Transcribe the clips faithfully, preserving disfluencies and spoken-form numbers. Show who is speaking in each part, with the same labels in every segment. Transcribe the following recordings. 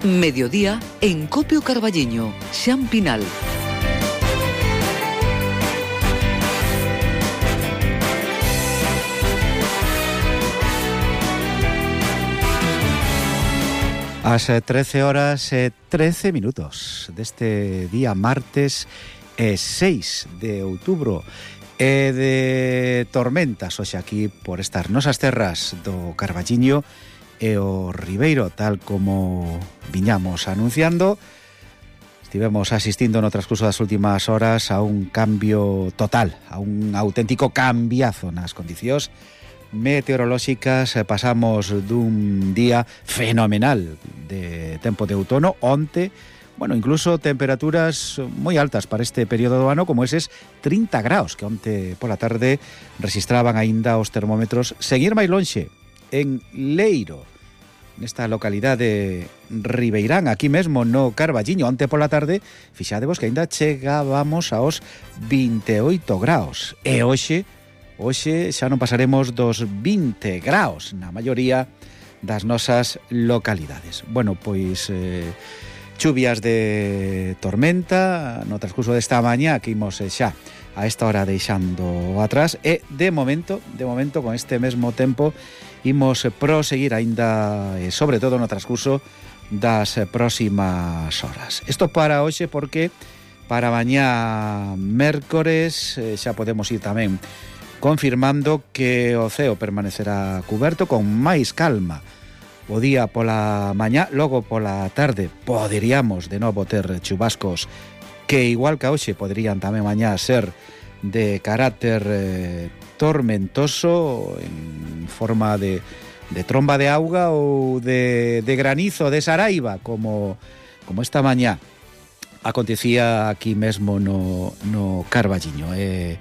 Speaker 1: Mediodía en Copio Carballiño, Xan Pinal.
Speaker 2: As trece horas e trece minutos deste día martes e seis de outubro e de tormentas hoxe aquí por estas nosas terras do Carballiño e o Ribeiro, tal como viñamos anunciando. Estivemos asistindo no transcurso das últimas horas a un cambio total, a un auténtico cambiazo nas condicións meteorolóxicas. Pasamos dun día fenomenal de tempo de outono onte, bueno, incluso temperaturas moi altas para este período do ano, como eses trinta graus que onte pola tarde registraban aínda os termómetros. Seguir máis lonxe, en Leiro, nesta localidade ribeirán, aquí mesmo no Carballiño, onte pola tarde, fixadevos que aínda chegábamos aos vinte e oito graus, e hoxe Hoxe xa non pasaremos dos vinte graus na maioría das nosas localidades. Bueno, pois eh, chuvias de tormenta no transcurso desta mañá que imos eh, xa a esta hora deixando atrás, e de momento, de momento con este mesmo tempo imos proseguir aínda e sobre todo no transcurso das próximas horas. Isto para hoxe porque para mañá mércores eh, xa podemos ir tamén confirmando que o ceo permanecerá cuberto con máis calma o día pola mañá, logo pola tarde poderíamos de novo ter chubascos que igual que hoxe poderían tamén mañá ser de carácter eh, tormentoso en forma de, de tromba de auga ou de, de granizo, de saraiva, como, como esta mañá acontecía aquí mesmo no, no Carballiño. Eh,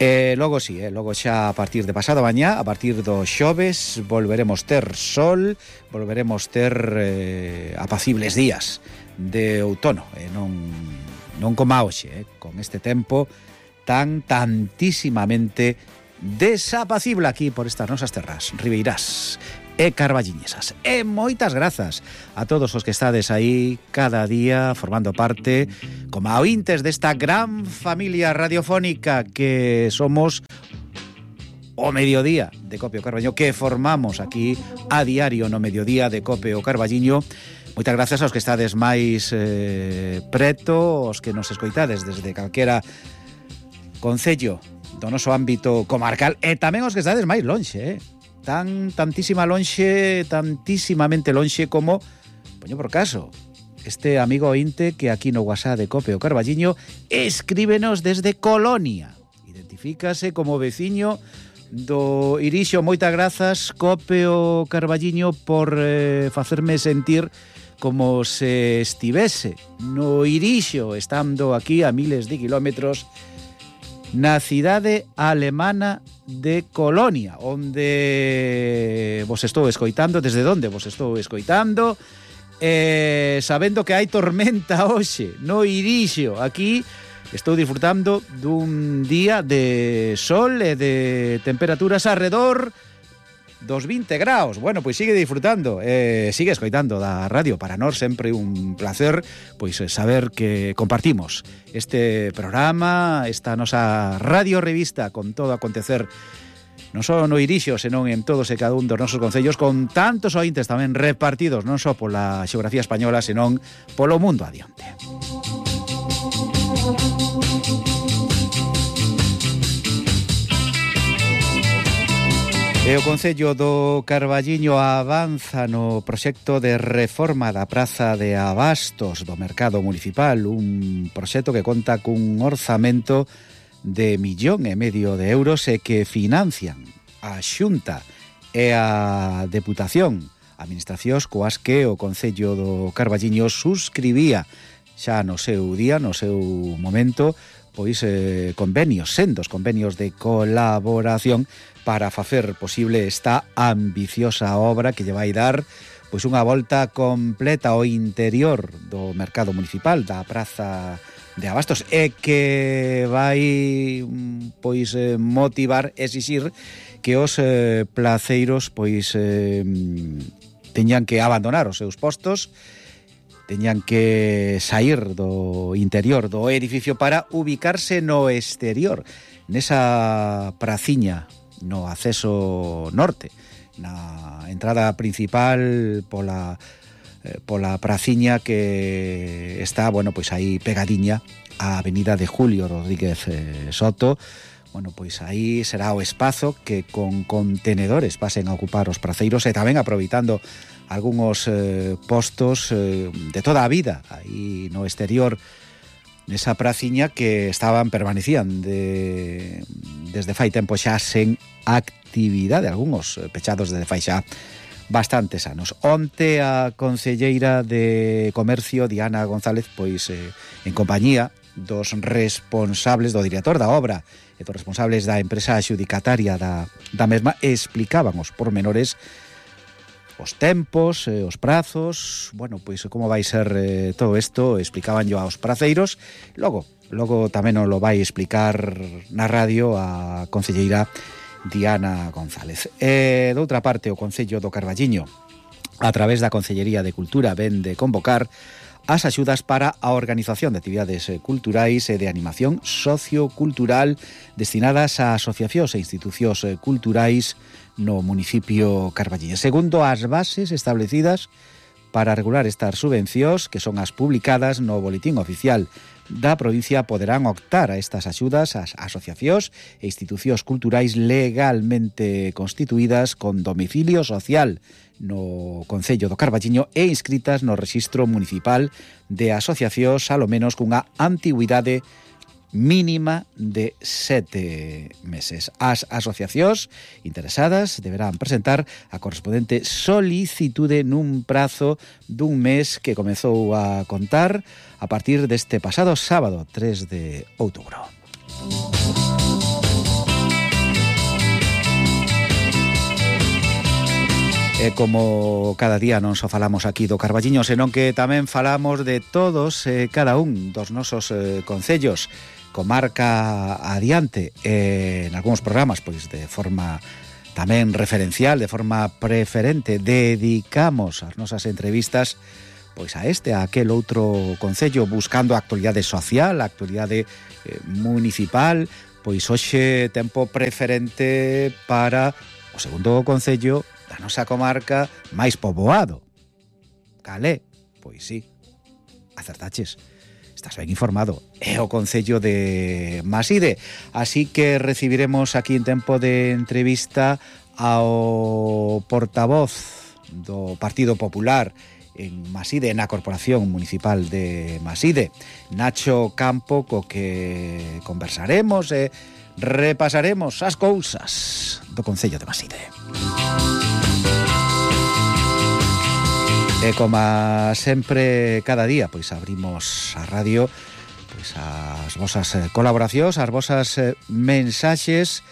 Speaker 2: E logo sí, eh, logo xa a partir de pasado mañá, a partir do xoves, volveremos ter sol, volveremos ter eh, apacibles días de outono, eh, non, non como hoxe, eh, con este tempo tan tantísimamente desapacible aquí por estas nosas terras ribeirás e carballiñesas. E moitas grazas a todos os que estades aí cada día formando parte como ointes desta gran familia radiofónica que somos o Mediodía de Copio Carballiño, que formamos aquí a diario no Mediodía de Copio Carballiño. Moitas grazas aos que estades máis eh, preto, os que nos escoitades desde calquera concello do noso ámbito comarcal, e tamén os que estades máis lonxe, eh? tan tantísima lonxe, tantísimamente lonxe como, poño por caso, este amigo ointe que aquí no WhatsApp de Copio Carballiño escríbenos desde Colonia. Identifícase como veciño do Irixo. Moitas grazas, Copio Carballiño, por eh, facerme sentir como se estivese no Irixo, estando aquí a miles de kilómetros na cidade alemana de Colonia, onde vos estou escoitando, desde onde vos estou escoitando, eh, sabendo que hai tormenta hoxe no Irixo. Aquí estou disfrutando dun día de sol e de temperaturas arredor dos vinte graus. Bueno, pois sigue disfrutando, eh, sigue escoitando da radio. Para nós sempre un placer pois saber que compartimos este programa, esta nosa radio revista con todo acontecer non só no Irixo, senón en todos e cada un dos nosos concellos, con tantos ointes tamén repartidos non só pola xeografía española, senón polo mundo adiante. E o Concello do Carballiño avanza no proxecto de reforma da Praza de Abastos do Mercado Municipal, un proxecto que conta cun orzamento de millón e medio de euros e que financian a Xunta e a Deputación, administracións coas que o Concello do Carballiño suscribía xa no seu día, no seu momento, pois eh, convenios, sendos convenios de colaboración para facer posible esta ambiciosa obra que lle vai dar pois unha volta completa ao interior do mercado municipal da Praza de Abastos, e que vai pois motivar, exixir que os eh, placeiros pois eh, teñan que abandonar os seus postos, teñan que sair do interior do edificio para ubicarse no exterior, nesa praciña no acceso norte, na entrada principal pola eh, pola praciña que está, bueno, pois aí pegadiña á avenida de Julio Rodríguez eh, Soto. Bueno, pois aí será o espazo que con contenedores pasen a ocupar os praceiros e tamén aproveitando algúns eh, postos eh, de toda a vida aí no exterior nesa praciña que estaban, permanecían de, desde fai tempo xa sen actividade, algúns pechados desde fai xa bastantes anos. Onte a concelleira de Comercio, Diana González, pois eh, en compañía dos responsables, do director da obra e dos responsables da empresa adxudicataria da, da mesma, explicaban os pormenores, os tempos, eh, os prazos, bueno, pois como vai ser eh, todo isto, explicaban yo aos praceiros. Logo, logo tamén nos lo vai explicar na radio a concelleira Diana González. E, doutra parte, o Concello do Carballiño, a través da Concellería de Cultura, ven de convocar as axudas para a organización de actividades culturais e de animación sociocultural destinadas a asociacións e institucións culturais no municipio carballiño. Segundo as bases establecidas para regular estas subvencións, que son as publicadas no Boletín Oficial da provincia, poderán optar a estas axudas as asociacións e institucións culturais legalmente constituídas con domicilio social no Concello do Carballiño e inscritas no Rexistro Municipal de Asociacións alo menos cunha antigüidade mínima de sete meses. As asociacións interesadas deberán presentar a correspondente solicitude nun prazo dun mes que comezou a contar a partir deste pasado sábado tres de outubro. E como cada día non só falamos aquí do Carballiño, senón que tamén falamos de todos e cada un dos nosos eh, concellos, comarca adiante, e en algúns programas, pois de forma tamén referencial, de forma preferente, dedicamos as nosas entrevistas pois a este, a aquel outro concello, buscando a actualidade social, a actualidade eh, municipal. Pois hoxe tempo preferente para o segundo concello da nosa comarca máis poboado. Calé? Pois sí, acertaches, estás ben informado, é o concello de Maside. Así que recibiremos aquí en tempo de entrevista ao portavoz do Partido Popular en Maside, na Corporación Municipal de Maside, Nacho Campo, co que conversaremos e repasaremos as cousas do concello de Maside. E como sempre cada día, pois abrimos a radio pois as vosas colaboracións, as vosas mensaxes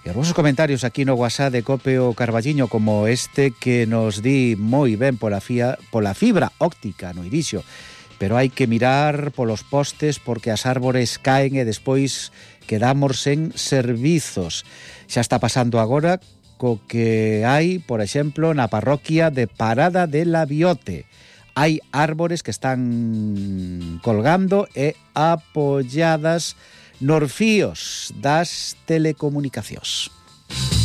Speaker 2: e os vosos comentarios aquí no WhatsApp de Cope o Carballiño, como este que nos di moi ben pola, fia, pola fibra óptica no Irixo, pero hai que mirar polos postes porque as árbores caen e despois quedamos sen servizos. Xa está pasando agora co que hai, por exemplo, na parroquia de Parada de la Biote. Hai árbores que están colgando e apoiadas nos fíos das telecomunicacións.